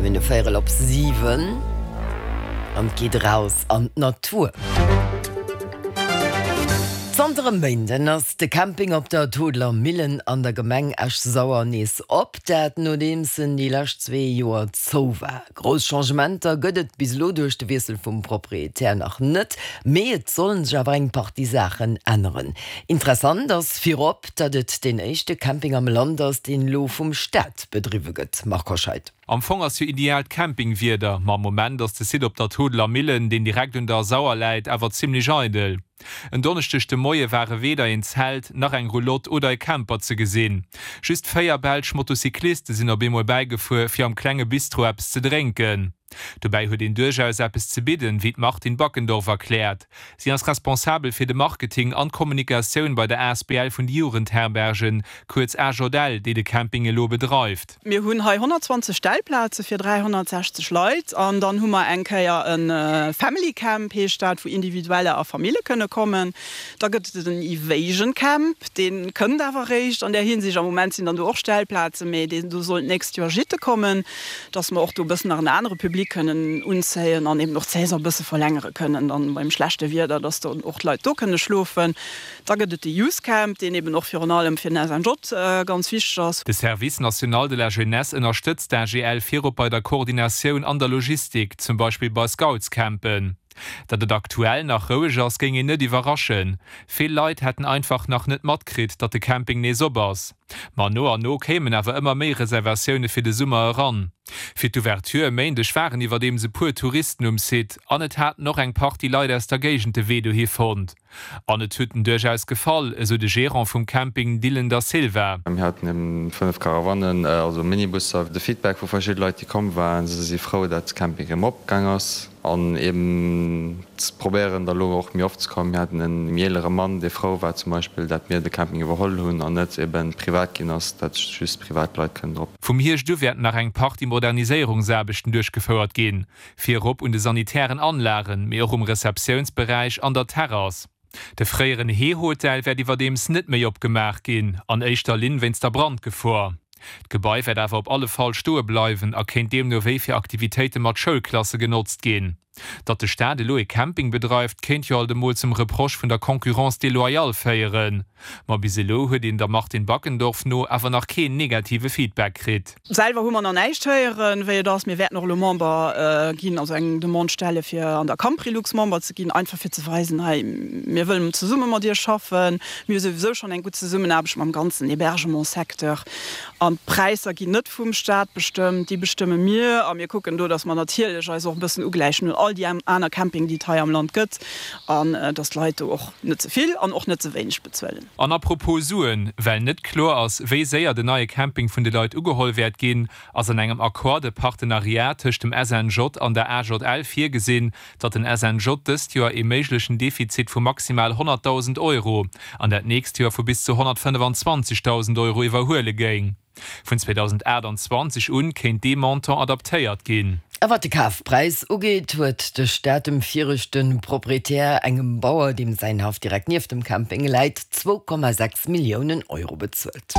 Mir hunn e Véierel op 7 an et geet eraus an d'Natur. Zanter e Méinden ass de Camping op der Todeler Millen an der Gemeng Esch-Sauer nees op, dat nodeems en déi lescht zwee Joer zou war. Grouss Changementer gëtt et bis elo duerch de Wiessel vum Proprietär nach net, mee et sollen sech awer eng Partie Saachen änneren. Interessant ass virop, datt et deen éischte Camping am Land ass, deen elo vum Staat bedriwwe gëtt. Marc Hoscheid. Am Fong ass jo ideaalt Campingwieder, ma am Moment ass de Site op der Todeler Millen, deen direkt un der Sauer läit, awer zimmlech eidel. En Donneschdeg de Moie ware weder een Zelt, nach eng Roulotte oder e Camper ze gesinn. Just 4 belsch Motocycliste sinn op eemol bäigefuer, fir am klenge Bistro eppes ze drénken. Dobäi huet een duerchaus eppes ze bidden, wéi d'Martine Backendorf erkläert. Si ass responsabel fir de Marketing an d'Kommunikatioun bei der asbl vun de Jugendherbergen, kuerz AJL, déi de Camping elo bedreift. Mir hunn hei 120 Stellplaze fir 360 Leit an dann hu mer eng Kéier e Family Camp, heescht dat, wou Individueller a Famille kënne kommen. Da gëtt et en Evasion Camp, dee kënnt awer eréischt an där Hinsicht. Am Moment sinn dann do och Stellplazen, mee deen do soll d'nächst Joer Gîte kommen, dass mer och do e bëssen nach en anere Public kënnen unzéien an eben och d'Saison e bësse verlängere kënnen dann beim schlechte Wieder, dass dann och d'Leit do kënne schlofen. Da gëtt et de Youth Camp, deen eben och virun allem fir den SNJ ganz wichteg ass. De Service national de la jeunesse ënnerstëtzt d'AGL virop bei der Koordinatioun an der Logistik, zum Beispill bei Scoutscampen. Datt et aktuell nach roueg ass, géing een net iwwerraschen. Vill Leit hätten einfach nach net matkritt, datt de Camping nees op ass. Ma no an no kéimen awer ëmmer méi Reservatioune fir de Summer eran. Fir d'Ouverture e Méindeg waren iwwerdeems e puer Touristen um Site an et haten och eng Partie Leit aus der Géigend de Wee dohi fonnt. An et huet en duerchaus gefall, esou de Gerant vum Camping Dylan Da Silva. Mir haten eben 5 Caravanen, also Minibusser. De Feedback vu verschidde Leit, déi komm waren, se si frou, dat de Camping erëm opgaang ass an eben probéieren da lo och méi oft ze kommen. Mir haten e méi eelere Mann, dee frou war zum Beispill, dat mir de Camping iwwerholl hunn an net eben privat ginn ass, dat just privat Leit kënnen drop. Vum Hierscht u wäerten nach eng Partie Moderniséierungsaarbechten duerchgefouert ginn. Virop un de sanitären Anlagen, mee och um Receptiounsberäich an der Terrass. De fréieren Heehotel wäert iwwerdeems net méi opgemaach ginn, an éischter Linn wéinst der Brandgefor. D'Gebai wäert awer op alle Fall stoe bleiwen a kéint deemno wéi fir Aktivitéite mat Schoulklasse genotzt ginn. Datt de Staat elo ee Camping bedreift, kéint jo alt emol zum Reproche vun der Concurrence déloyale féieren. Ma bis elo huet een der Martine Backendorf no awer nach keen negative Feedback kritt. Selwer hu mer nach näischt héieren, wéi et ass. Mir wäerten och elo Member ginn, also eng Demande stelle fir an der Camprilux Member ze ginn, einfach fir ze weisen, hei mir wëllen zesumme mat iech schaffen. Mir hu souwisou schonn eng gutt Zesummenaarbecht mam ganzen Hébergementssecteur an d'Präisser ginn net vum Staat bestëmmt, déi bestëmme mir a mir kucken do, datt mer natierlech eis och e bëssen ugläichen un all déi aner Camping, déi et hei am Land gëtt an datt d'Leit do och net ze vill an och net ze wéineg bezuelen. An apropos Suen, well net kloer ass, wéi séier den neie Camping vun de Leit ugeholl wäert ginn, ass an engem Accord de partenariat tëscht dem SNJ an der AJL virgesinn, datt den SNJ dëst Joer ee méiglechen Defizit vu maximal 100.000 Euro an dat nächst Joer vu bis zu 125.000 Euro iwwerhuele géing. Vun 2028 un kéint dee Montant adaptéiert ginn. A wat de Kafpräis ugeet, huet de Staat dem viregte Proprietär, engem Bauer, deem säin Haff direkt nieft dem Camping läit, 2,6 Milliounen Euro bezuelt.